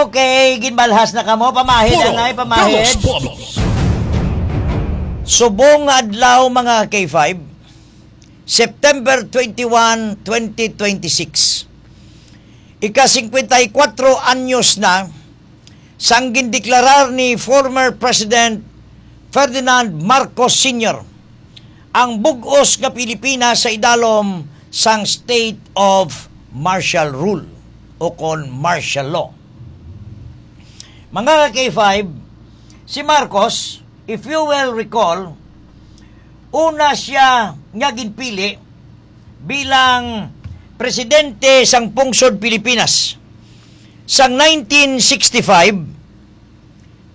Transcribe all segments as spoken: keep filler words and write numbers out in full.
Okay, ginbalhas na kamo. Pamahid, Puro anay, pamahid. Dalos Pobos. Subong nga adlaw, mga K five, September twenty-one, twenty twenty-six. Ika-singkwenta y kuwatro anyos na sang gindeklarar ni former President Ferdinand Marcos Senior ang bug-os nga Pilipinas sa idalom sang state of martial rule o kon martial law. Mga ka-K five, si Marcos, if you will recall, una siya nga ginpili bilang presidente sang pungsod Pilipinas sang nineteen sixty-five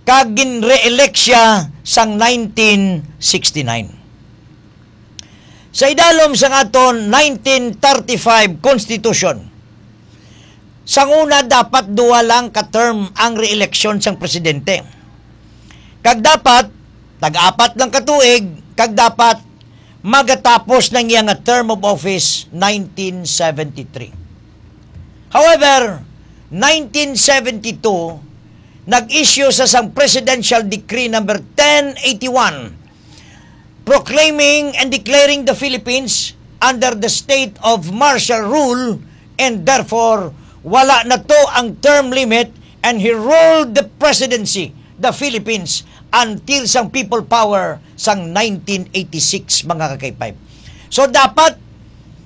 kag gin-re-elect siya sang nineteen sixty-nine. Sa idalom sang aton nineteen thirty-five Constitution, sang una dapat duha lang ka term ang re-election sang presidente. Kag dapat tag-apat lang ka tuig, kag dapat magatapos na ang iya nga term of office nineteen seventy-three. However, nineteen seventy-two, nag-issue sa sang Presidential Decree number ten eighty-one, proclaiming and declaring the Philippines under the state of martial rule, and therefore, wala na to ang term limit, and he ruled the presidency, the Philippines, until sang people power sang nineteen eighty-six, mga ka-K five. So, dapat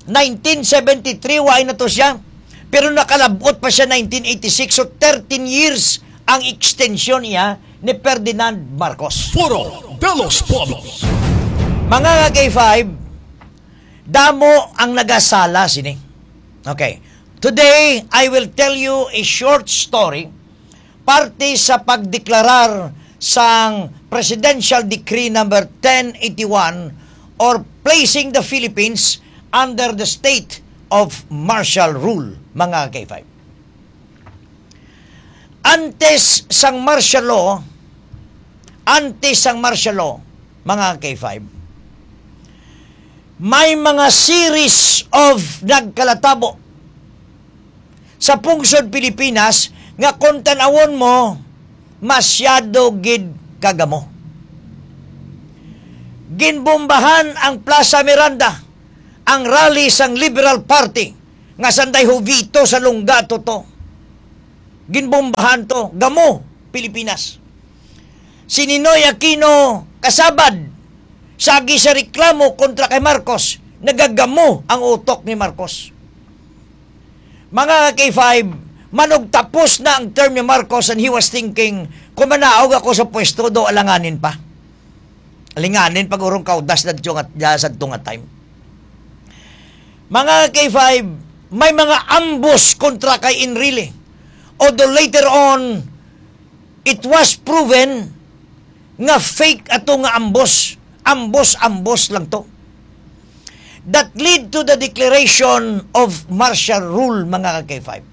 nineteen seventy-three, wa na to siya. Pero nakalabot pa siya nineteen eighty-six. So, thirteen years ang extension niya ni Ferdinand Marcos. Foro de los Pueblos. Mga ka-K five, damo ang nagasala sini. Okay. Today, I will tell you a short story parte sa pagdeklarar sang Presidential Decree number ten eighty-one, or placing the Philippines under the state of martial rule, mga ka-K five. Antes sang martial law, antes sang martial law, mga ka-K five, may mga series of nagkalatabo sa pungsod Pilipinas nga, kung tan-awon mo, masyado gid kagamo. Ginbombahan ang Plaza Miranda, ang rally sang Liberal Party nga sanday Jovito Salonga to. Ginbombahan to. Gamo, Pilipinas. Si Ninoy Aquino kasabad, sagi sa reklamo kontra kay Marcos, nagagamo ang utok ni Marcos. Mga ka-K five, manugtapos na ang term ni Marcos and he was thinking, "Kung manaog ako sa pwesto, do alanganin pa. Alanganin pag urong kaudas na nga, sa tunga time." Mga ka-K five, may mga ambos kontra kay Enrile. Although later on, it was proven nga fake ato nga ambos. Ambos-ambos lang to. That lead to the declaration of martial rule, mga ka-K five.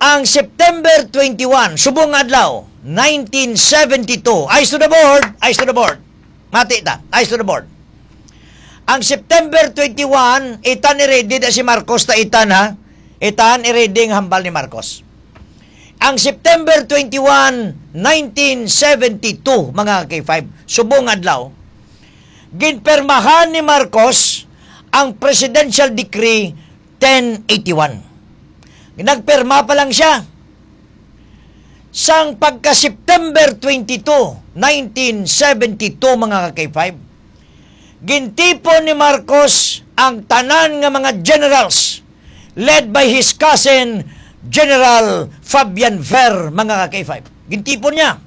Ang September twenty-one, subong nga adlaw, nineteen seventy-two. Eyes to the board, eyes to the board. Mati ta, eyes to the board. Ang September twenty-one, itan i-ready na si Marcos, ta itan, ha? Itan i-ready ang hambal ni Marcos. Ang September twenty-one, nineteen seventy-two, mga ka-K five, subong adlaw, ginpermahan ni Marcos ang Presidential Decree ten eighty-one. Nagperma pa lang siya. Sang pagka-September twenty-two, nineteen seventy-two, mga ka-K five, gintipon ni Marcos ang tanan nga mga generals led by his cousin, General Fabian Ver, mga ka-K five. Gintipon niya.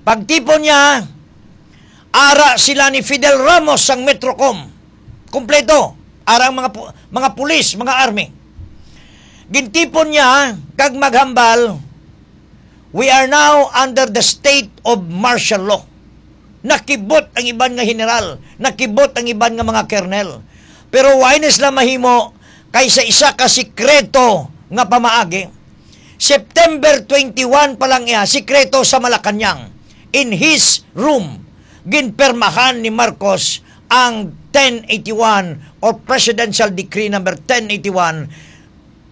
Pagtipon niya, ara sila ni Fidel Ramos sang Metrocom. Kompleto. Ara ang mga pu-, mga pulis, mga army. Gintipon niya kag maghambal, "We are now under the state of martial law." Nakibot ang iban nga general, nakibot ang iban nga mga kernel. Pero wa ini sila mahimo kay sa isa ka sikreto nga pamaagi, September twenty-one pa lang iya, sikreto sa Malacañang, in his room, ginpermahan ni Marcos ang ten eighty-one or Presidential Decree number ten eighty-one,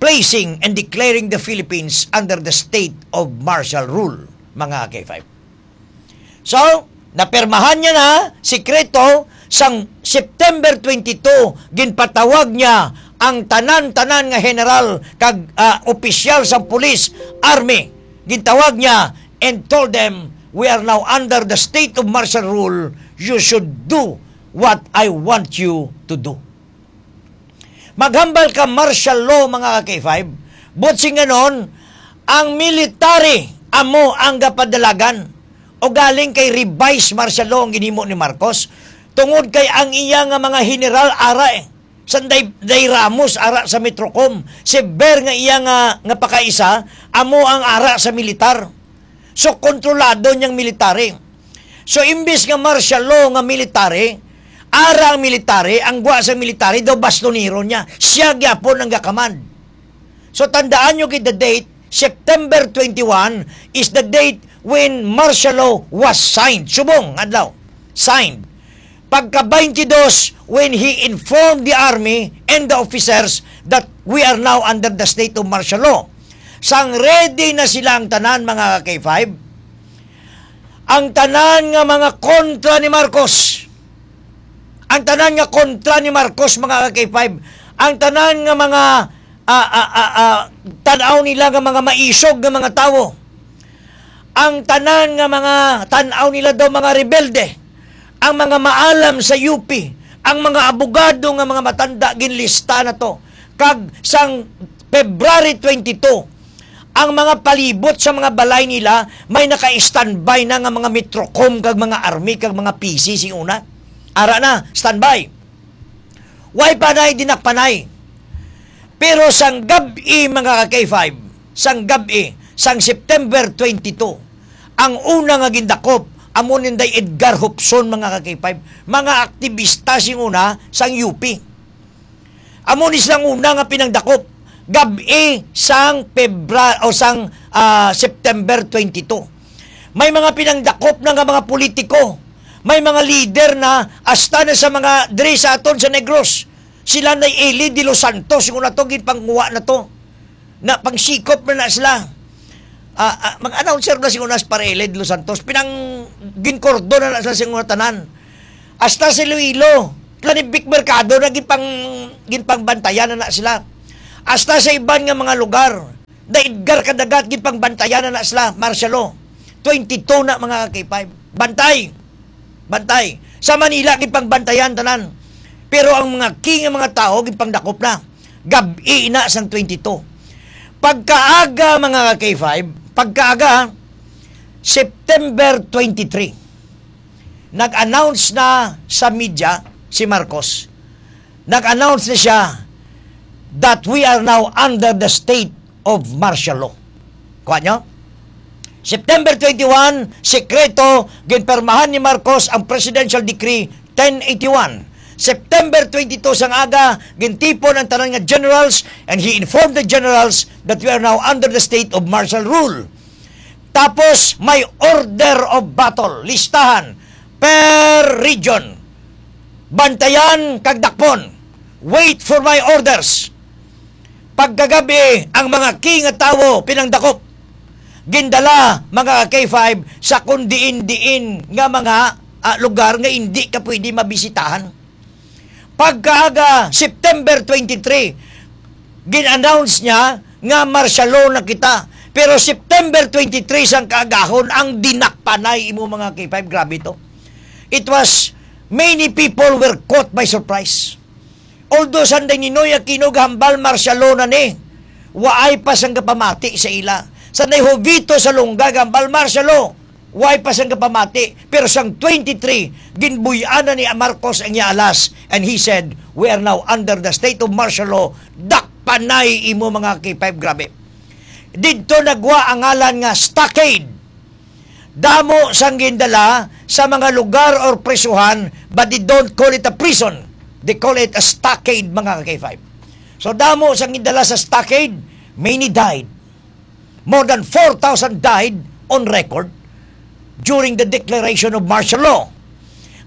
placing and declaring the Philippines under the state of martial rule, mga K five. So, napirmahan niya na, sikreto, sang September twenty-two, ginpatawag niya ang tanan-tanan nga general kag, ah, opisyal sang pulis, army. Gintawag niya and told them, "We are now under the state of martial rule. You should do what I want you to do." Maghambal ka martial law, mga ka-K five. But singanon, ang military amo ang gapadalagan o galing kay revised martial law ang ginhimo ni Marcos, tungod kay ang iya nga mga general ara, eh. Sanday Day Ramos ara sa Metrocom, si Ber nga iya nga, nga pakaisa, amo ang ara sa militar. So, kontrolado niyang military. So, imbis nga martial law nga military, ara ang military, ang gwa sa military daw bastonero niya. Siya gyapon ang gakamand. So, tandaan nyo gid the date, September twenty-one is the date when martial law was signed. Subong adlaw, signed. Pagka twenty-two, when he informed the army and the officers that we are now under the state of martial law. Sang ready na sila ang tanan, mga ka-K five. Ang tanan nga mga kontra ni Marcos. Ang tanan nga kontra ni Marcos, mga ka-K five. Ang tanan nga mga, ah, ah, ah, ah, tan-aw nila nga mga maisog nga mga tawo. Ang tanan nga mga tan-aw nila daw mga rebelde. Ang mga maalam sa U P, ang mga abogado nga mga matanda, ginlista na to. Kag sang February twenty-two, ang mga palibot sa mga balay nila may naka-standby na nga mga Metrocom kag mga army kag mga P C sing una. Ara na, standby. Way panay, dinakpanay. Pero sang gab-i, mga ka-K five, sang gab-i, sang September twenty-two, ang una nga gindakop, amo ni Inday Edgar Hopson, mga ka-K five, mga aktibista sing una sang U P. Amo ni silang una nga pinangdakop, gab-i sang Febra-, o sang, ah, September twenty-two. May mga pinangdakop na nga mga politiko, may mga leader na, hasta na sa mga diri sa aton sa Negros. Sila na Eli De Los Santos, yung una to, ginpangwa na to. Na pangsikop na na sila. Ah, ah, mag-announcer na si una si Pare Eli De Los Santos. Pinang ginkordon na na sila sa una tanan. Hasta si Iloilo, sila ni Vic Mercado na ginpang-, ginpangbantayan na na sila. Hasta sa iban nga mga lugar, na Edgar Cadagat, ginpangbantayan na na sila, martial law. Twenty-two na, mga ka-K five. Bantay! Bantay! Sa Manila, ginpangbantayan tanan. Pero ang mga key nga mga tawo, ginpangdakop na. Gab-i na sang twenty-two. Pagkaaga, mga ka-K five, pagkaaga, September twenty-three, nag-announce na sa media si Marcos. Nag-announce na siya that we are now under the state of martial law. Kuha nyo? September twenty-one, sekreto, ginpermahan ni Marcos ang Presidential Decree ten eighty-one. September twenty-two sang aga, gintipon ang tanan nga generals and he informed the generals that we are now under the state of martial rule. Tapos may order of battle, listahan per region. Bantayan kag dakpon. Wait for my orders. Pagkagabi, ang mga key nga tawo pinangdakop. Gindala, mga ka-K five, sa kun diin-diin nga mga, ah, lugar nga hindi ka pwede mabisitahan. Pagkaaga, September twenty-three, gin-announce niya nga martial law na kita. Pero September twenty-three sang kaagahon, ang dinakpanay imo, mga ka-K five, grabe to. It was, many people were caught by surprise. Although sanday Ninoy Aquino gahambal martial law na ni, waay pa sang gapamati sa ila. Sanday Jovito Salonga gahambal martial law, waay pa sang gapamati. Pero sang twenty-three, ginbuy-an na ni Marcos ang iya alas, and he said, "We are now under the state of martial law." Dakpanay imo, mga ka-K five, grabe. Didto nagwa ang ngalan nga stockade. Damo sang gindala sa mga lugar or prisuhan, but they don't call it a prison. They call it a stockade, mga ka-K five. So, damo sang gindala sa stockade, many died. More than four thousand died on record during the declaration of martial law.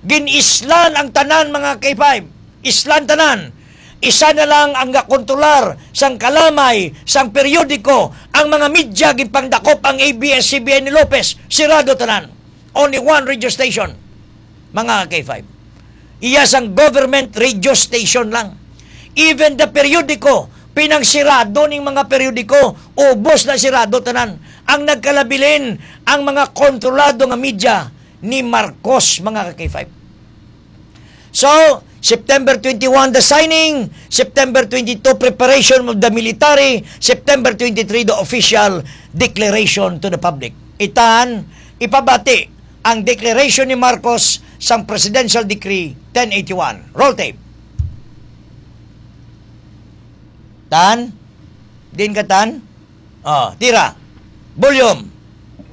Gin-islan ang tanan, mga ka-K five. Islan tanan. Isa na lang ang gakontrolar sang kalamay, sang periodiko, ang mga media, ginpangdakop ang A B S C B N ni Lopez, sirado tanan. Only one radio station, mga K five. Iya sang government radio station lang. Even the periodiko, pinangsirado ning mga periodiko, ubos na sirado tanan. Ang nagkalabilin, ang mga kontrolado nga media ni Marcos, mga K five. So, September twenty-one, the signing. September twenty-two, preparation of the military. September twenty-three, the official declaration to the public. Itan, ipabati ang declaration ni Marcos sang Presidential Decree ten eighty-one. Roll tape. Tan? Din ka, Tan? Oh, tira. Volume.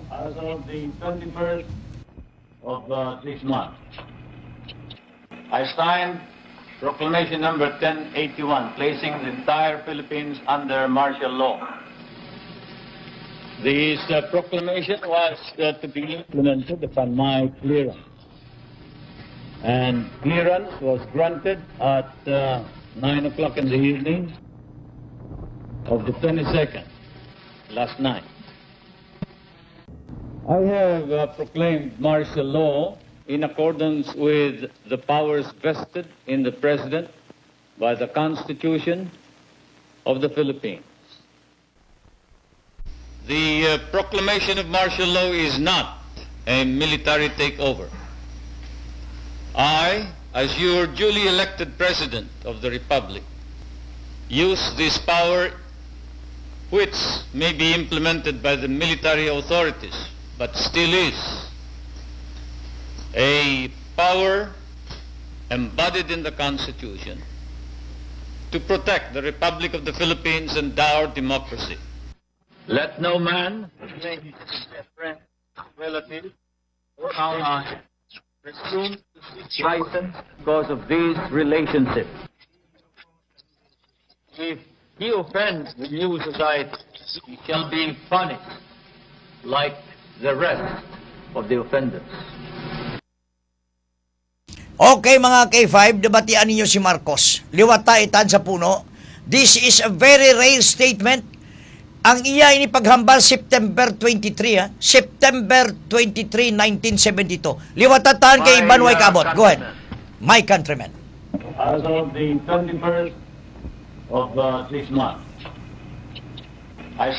As of the twenty-first of uh, this month, I signed Proclamation Number ten eighty-one, placing the entire Philippines under martial law. This uh, proclamation was uh, to be implemented upon my clearance. And clearance was granted at uh, nine o'clock in the evening of the twenty-second, last night. I have uh, proclaimed martial law in accordance with the powers vested in the President by the Constitution of the Philippines. The uh, proclamation of martial law is not a military takeover. I, as your duly elected President of the Republic, use this power, which may be implemented by the military authorities, but still is a power embodied in the Constitution to protect the Republic of the Philippines and our democracy. Let no man, friend, relative, or ally presume to seek license because of this relationship. If he offends the new society, he shall be punished like the rest of the offenders. Okay, mga K five, nabatian ninyo si Marcos. Liwata itan sa puno. This is a very rare statement. Ang iya ini paghambal September twenty-three, ha? September twenty-three, nineteen seventy-two. Liwata tan kay Iban way kaabot. Go ahead. My countrymen. As of the twenty-first of uh, this month, I